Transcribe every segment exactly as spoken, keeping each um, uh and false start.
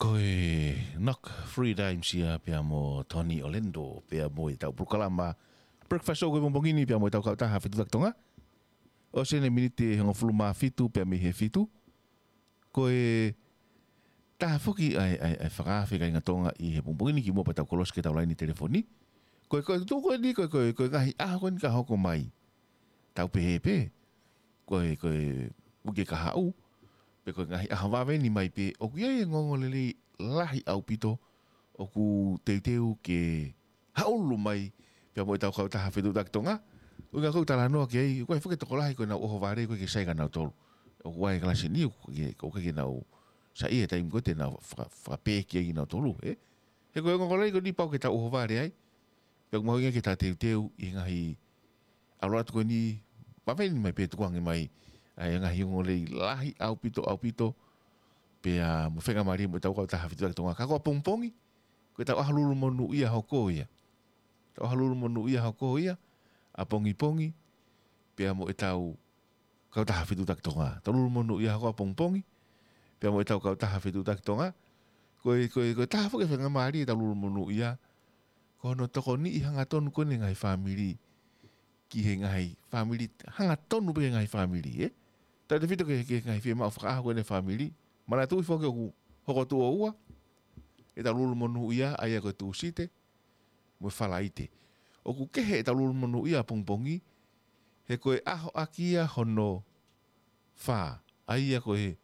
Ko e Knock Free Times ia pea mo Tony Orlando, pea mo ʻetau polokalama Breakfast Show ko e pongipongi ni pea mo ʻetau kautaha Fetuʻutaki Tonga. ʻOsi eni e miniti ʻe hongofulu mā fitu pea mei he fitu. Ko e taha foki ʻa e, ʻa e, ʻa e fakaafe kāinga Tonga ʻi he pongipongi ni kimuʻa pea tau kolosi ki heʻetau laine telefoni. Ko e, ko e tuʻu ko eni, ko e, ko e, ko e ngaahi ʻaho ko eni ka hoko mai. Tau pehē pē, ko e, ko e uike kahaʻu, pe ko e ngaahi ʻaho vave ni mai pē, ʻoku ʻi ai e ongoongolelei lahi ʻaupito, ʻoku teuteu ke haʻulu mai, pea mo ʻetau kautaha Fetuʻutaki Tonga. ʻUhinga ʻoku ou talanoa ki ai, ko e foki e tokolahi ko ʻenau ʻohovale, ʻoku ʻikai ke sai kinautolu. ʻOku ʻi ai e kalasi ni, ʻoku ʻikai ke, ʻoku ʻikai ke nau saiʻia he taimi ko ē te nau faka-, fakapē ki ai kinautolu, ē. He ko e ongoongolelei ko eni pau ke tau ʻohovale ai. Pea ʻoku mahuʻinga ke tau teuteu ʻi he ngaahi ʻalu atu ko eni, vave ni mai pē tukuange mai, ʻa e ngaahi ongoongolelei lahi ʻaupito, ʻaupito, pea mo e faingamālie mo ʻetau kautaha Fetuʻutaki Tonga. Ka ko ʻapongipongi, ko ʻetau ʻaho lulu monūʻia hoko ia. ʻEtau ʻaho lulu monūʻia hoko ia, ʻapongipongi, pea mo ʻetau kautaha Fetuʻutaki Tonga. ʻEtau lulu monūʻia hoko ʻapongipongi, pea mo ʻetau kautaha Fetuʻutaki Tonga. Ko e, ko e, ko e taha foki e faingamālie ʻetau lulu monūʻia, ko hono tokoniʻi hangatonu ko eni e ngaahi fāmili, ki he ngaahi fāmili, hangatonu pē ki he ngaahi fāmili, ē? Tautefito ki he, ki he ngaahi fiemaʻu fakaʻaho ko eni e fāmili. Manatuʻi foki ʻoku hoko tuʻo ua ʻetau lulu monūʻia, ʻa ia ko e Tūsite mo e Falaite. ʻOku kehe ʻetau lulu monūʻia ʻapongipongi, he ko e ʻaho ʻaki ia hono fā, ʻa ia ko e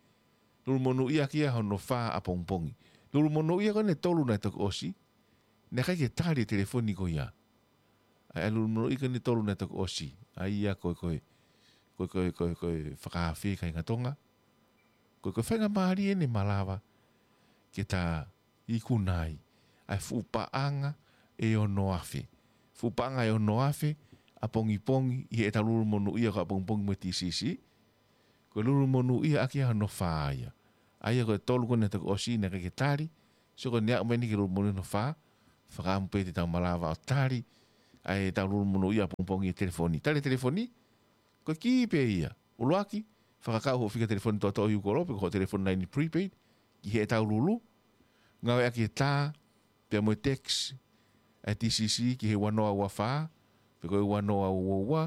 lulu monūʻia ʻaki ia hono fā ʻapongipongi. Lulu monūʻia ko eni ʻe tolu naʻe toki ʻosi, naʻe ʻikai ke tali e telefoni ko ia. ʻA e lulu monūʻia ko eni ʻe tolu naʻe toki ʻosi, ʻa ia ko e, ko e, ko e, ko e, ko e, ko e fakaafe kāinga Tonga. Ko e, ko e faingamālie eni ʻe malava ke ta ikuna ai ʻa e fuʻu paʻanga ʻe ono afe. Fuʻu paʻanga ʻe ono afe ʻapongipongi ʻi heʻetau lulu monūʻia ko ʻapongipongi mo e T C C. Ko e lulu monūʻia ʻaki ia hono fā ia. ʻA ia ko e tolu ko eni naʻe toki ʻosi naʻe ʻikai ke tali. So ko eni aʻu mai eni ki he lulu monūʻia hono fā, fakaʻamu pē te tau malava ʻo tali ʻa ʻetau lulu monūʻia ʻapongipongi he telefoni. Tali e telefoni, ko e kī pē ia. ʻUluaki, fakakau hoʻo fika telefoni toʻotoʻo ʻi ʻū kolo, pe ko hoʻo telefoni laini prepaid, ki heʻetau lulu. Ngāueʻaki e tā, pea mo e text ʻa e T C C ki he ua noa ua fā, pe ko e ua noa ua ua,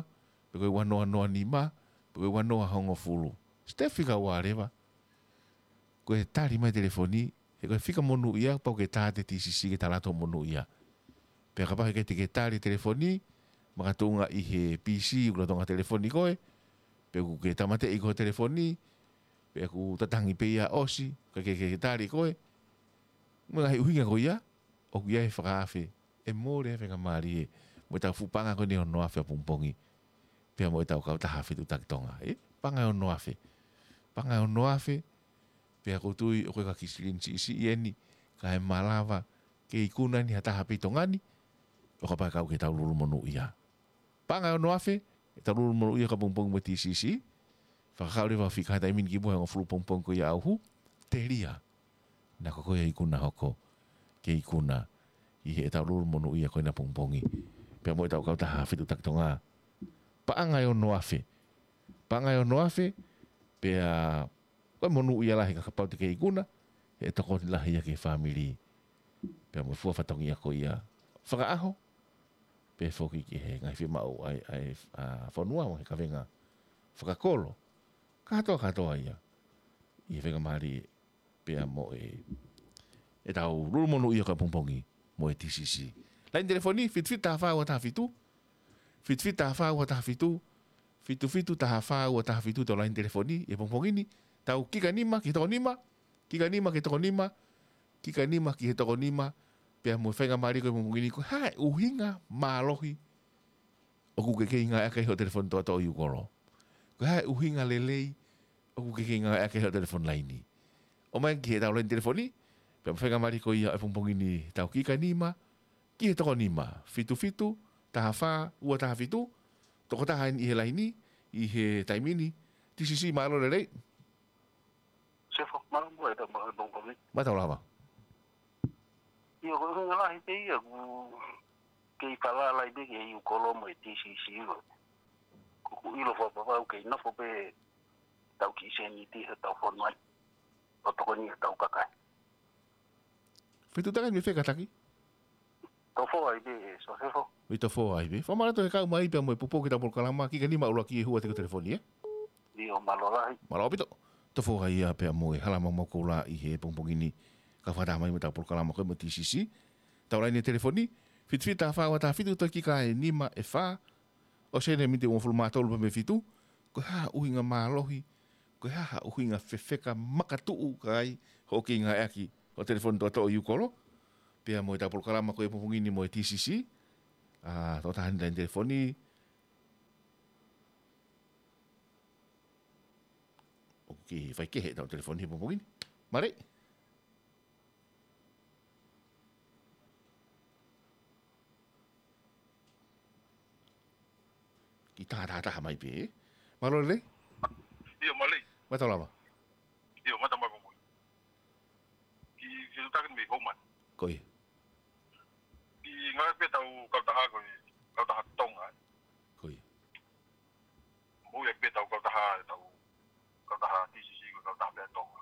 pe ko e ua noa noa nima, pe ko e ua noa hongofulu. Step fika ua leva. Ko e tali mai telefoni, he ko e fika monūʻia, pau ke tā atu e T C C ke tala atu monūʻia. Pea kapau he ʻikai te ke tali telefoni, makatuʻunga ʻi he P C, ʻoku lolotonga telefoni koe, pe ʻoku ke tāmateʻi koe he telefoni, pe ʻoku tatangi pē ia ʻosi, ʻikai ke, ke, ke tali koe, mo e ngaahi ʻuhinga ko ia, ʻoku ʻi ai e fakaafe, ʻe mole ai e faingamālie, mo ʻetau fuʻu paʻanga ko eni ʻe ono afe ʻapongipongi, pea mo ʻetau kautaha Fetuʻutaki Tonga, ē? Paʻanga ʻe ono afe. Paʻanga ʻe ono afe, pea ʻoku ou tui ʻoku ʻikai ko ha kiʻi silini siʻisiʻi eni, kae malava ke ikuna eni ha taha pē ʻi Tonga ni, ʻo kapau ʻe kau ki heʻetau lulu monūʻia. Paʻanga ʻe ono afe, ʻetau lulu monūʻia ko ʻapongipongi mo e T C C. Fakakau leva hoʻo fika he taimi ni kimuʻa he hongofulu pongipongi ko ia ʻauhu, telia. Naʻa ko koe ʻe ikuna hoko, ke ikuna ʻi heʻetau lulu monūʻia ko eni ʻapongipongi, pea mo ʻetau kautaha Fetuʻutaki Tonga. Paʻanga ʻe ono afe. Paʻanga ʻe ono afe, pea ko e monūʻia lahi ka kapau te ke ikuna, ʻe tokoni lahi ia ki he fāmili. Pea mo e fua fatongia ko ia fakaʻaho, pea foki ki he ngaahi fiemaʻu ʻa e, ʻa e, ʻa e fonua mo e kavenga fakakolo. Kātoa, kātoa ia. ʻI he faingamālie pea mo e, ʻetau lulu monūʻia ko ʻapongipongi mo e T C C. Laini telefoni, fitu fitu taha fā ua taha fitu. Fitu fitu taha fā ua taha fitu. Fitu fitu taha fā ua taha fitu ʻetau laini telefoni, ʻi he pongipongi ni, tau kika nima ki he toko nima, kika nima ki he toko nima, kika nima ki he toko nima, pea mo e faingamālie ko ē he pongipongi ni, ko e hā e ʻuhinga mālohi ʻoku ke kei ngāueʻaki ai hoʻo telefoni toʻotoʻo ʻi ʻū kolo. Ko e hā e ʻuhinga lelei ʻoku ke kei ngāueʻaki ai hoʻo telefoni laini. ʻOmai ki heʻetau laini telefoni, pea mo e faingamālie ko ia he pongipongi ni tau kika nima, ki he toko nima, fitu fitu, taha fā, ua taha fitu, tokotaha eni ʻi he laini, ʻi he taimi ni, T C C mālō lelei. Sefo, mālō mo e tau mālō pongipongi. Mālō lava. ʻIo, ko e ʻuhinga lahi pē ia, ʻoku kei falala ai pē ke ʻi ʻū kolo mo e T C C ʻo. ʻOku ou ʻilo fakapapau kei nofo pē tau kiʻi seniti he tau fonua ai. ʻO tokoni he tau kakai. Fetuʻutaki mei fē kātaki? Tofoa ai pē, Sosefo. Mei Tofoa ai pē. Fakamālō atu he kau mai pea mo e poupou ki heʻetau polokalama, kiʻi ka nima ʻuluaki ʻe hū atu ki he telefoni, ē? ʻIo, mālō lahi. Mālō ʻaupito. Tofoa ia pea mo e hala maumau koula ʻi he pongipongi ni. Kau fakataha mai mo ʻetau polokalama ko ē mo e T C C. Tau laine telefoni, fitu fitu taha fā ua taha fitu, toe kiʻi ka e nima ʻe fā, ʻosi ʻeni e miniti ʻe uofulu mā tolu pē mei he fitu, ko e hā ha ʻuhinga mālohi, ko e hā ha ʻuhinga fefeka makatuʻu ka ai hoʻo kei ngāueʻaki hoʻo telefoni toʻotoʻo ʻi he ʻū kolo, pea mo ʻetau polokalama ko ē he pongipongi ni mo e T C C, ʻa, tokotaha ʻeni laine telefoni, ʻoku kei faikehe ʻetau telefoni he pongipongi ni. Mālō. Kiʻi taha taha taha mai pē, ē? Mālō lelei? ʻIo, mālō. Mālō lava. ʻIo, mālō mai pē mo. Kiʻi fetuʻutaki mei Homan. Ko ia. Kiʻi ngāue pē ʻetau kautaha ko ē, kautaha Tonga, ē? Ko ia. Mou ia pē ʻetau kautaha, ʻetau kautaha T C C ko e kautaha pē ʻa Tonga.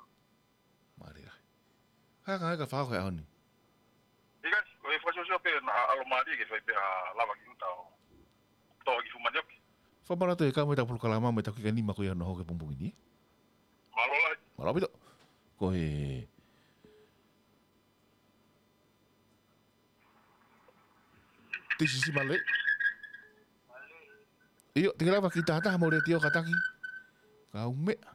Mālō lahi. Hā ka ai ka fao he ʻaho ni? ʻIkai, ko e fakasiosio pē naʻa ʻalomālie ke fai pē ha lava ki ʻuta ʻo toʻo ki Fumani ʻoku. Fakamālō atu he kau mai ʻetau polokalama mo ʻetau kiʻi ka nima ko ia hono hoko he pongipongi ni. Mālō lahi. Mālō ʻaupito. Ko e T C C mālō. ʻIo, te ke lava kiʻi taha taha mo e letiō kātaki. Kau meʻa.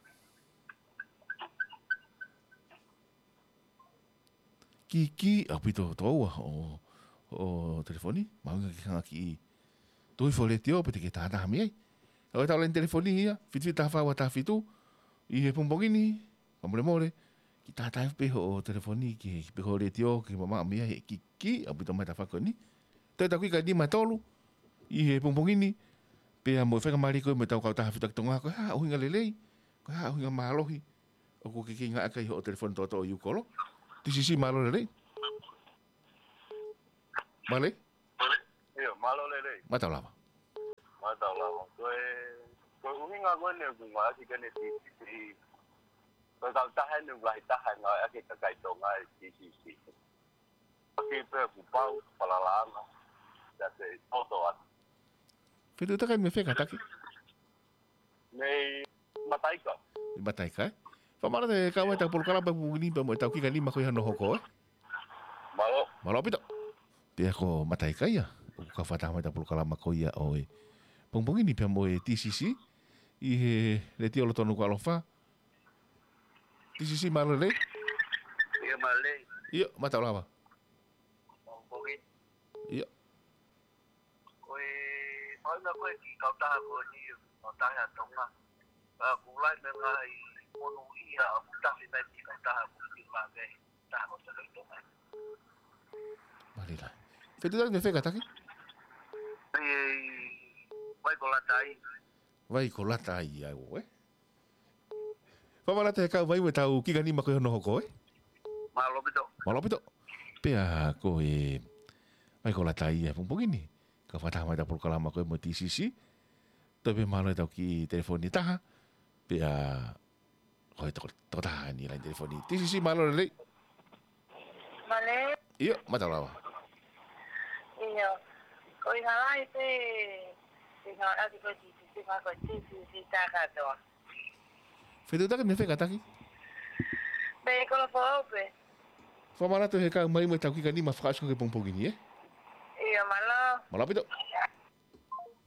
Kiʻi, kiʻi ʻaupito toua hoʻo, hoʻo telefoni, mahuʻinga ke hanga ʻo kiʻi tuʻu hifo e letiō pe te ke taha taha mei ai. ʻA ia ko ʻetau laine telefoni ia, fitu fitu taha fā ua taha fitu, ʻi he pongipongi ni, fakamolemole, kiʻi taha taha pē hoʻo telefoni ki he, pe ko e letiō ke mamaʻo mei ai he kiʻi, kiʻi ʻaupito mai tafaʻaki ko eni. Toe ʻetau kiʻi ka nima ʻe tolu ʻi he pongipongi ni, pea mo e faingamālie ko ē mo ʻetau kautaha Fetuʻutaki Tonga, ko e hā ha ʻuhinga lelei, ko e hā ha ʻuhinga mālohi ʻoku ke kei ngāueʻaki ai hoʻo telefoni toʻotoʻo ʻi he ʻū kolo. T C C mālō lelei. Mālō. ʻIo, mālō lelei. Mālō lava. Mālō lava. Ko e, ko e ʻuhinga ko eni ʻoku ngāueʻaki ʻeni e T C C. Ko e kautaha ʻeni ʻoku lahi taha e ngāueʻaki ʻe he kakai Tonga e T C C. Ko e kiʻi pē kuo pau, falalaʻanga, ʻa e toto atu. Fetuʻutaki mei fē kātaki? Mei Mataika. Mei Mataika, ē? Fakamālō atu he kau mai ʻetau polokalama he pongipongi ni pea mo ʻetau kiʻi ka nima ko ia hono hoko, ē? Mālō. Mālō ʻaupito. Pea ko Mataika ia, ʻoku kau fakataha mai ʻetau polokalama ko ia ʻo e pongipongi ni pea mo e T C C, ʻi he letiō lolotonga ʻaloʻofa. T C C mālō lelei. ʻIo, mālō lelei. ʻIo, mālō lava. Pongipongi. ʻIo. Ko e, mahuʻinga ko e kiʻi kautaha ko eni, kautaha ʻa Tonga. Ka ʻoku lahi e ngaahi monūʻia ʻoku tafe mai ki he kautaha ko eni, mei he taha ko ē ʻa Tonga. Mālō lelei. Fetuʻutaki mei fē kātaki? Mei Vaikolata ai. Vaikolata ai, ʻa ē, ē? Fakamālō atu he kau mai mo ʻetau kiʻi ka nima ko ia hono hoko, ē? Mālō ʻaupito. Mālō ʻaupito. Pea ko e Vaikolata ia he pongipongi ni. Kau fakataha mai ʻetau polokalama ko ē mo e T C C. Toe pē mālō ʻetau kiʻi telefoni ʻe taha. Pea ko e toko, tokotaha ʻeni laine telefoni. T C C mālō lelei. Mālō. ʻIo, mālō lava. ʻIo. Ko e ngaahi pē, ko e ngaahi ʻaki ko e T C C, ko e T C C tā kātoa. Fetuʻutaki mei fē kātaki? Mei Kolofoʻou pē. Fakamālō atu he kau mai mo ʻetau kiʻi ka nima fakaʻosi ko ē he pongipongi ni, ē? ʻIo, mālō. Mālō ʻaupito.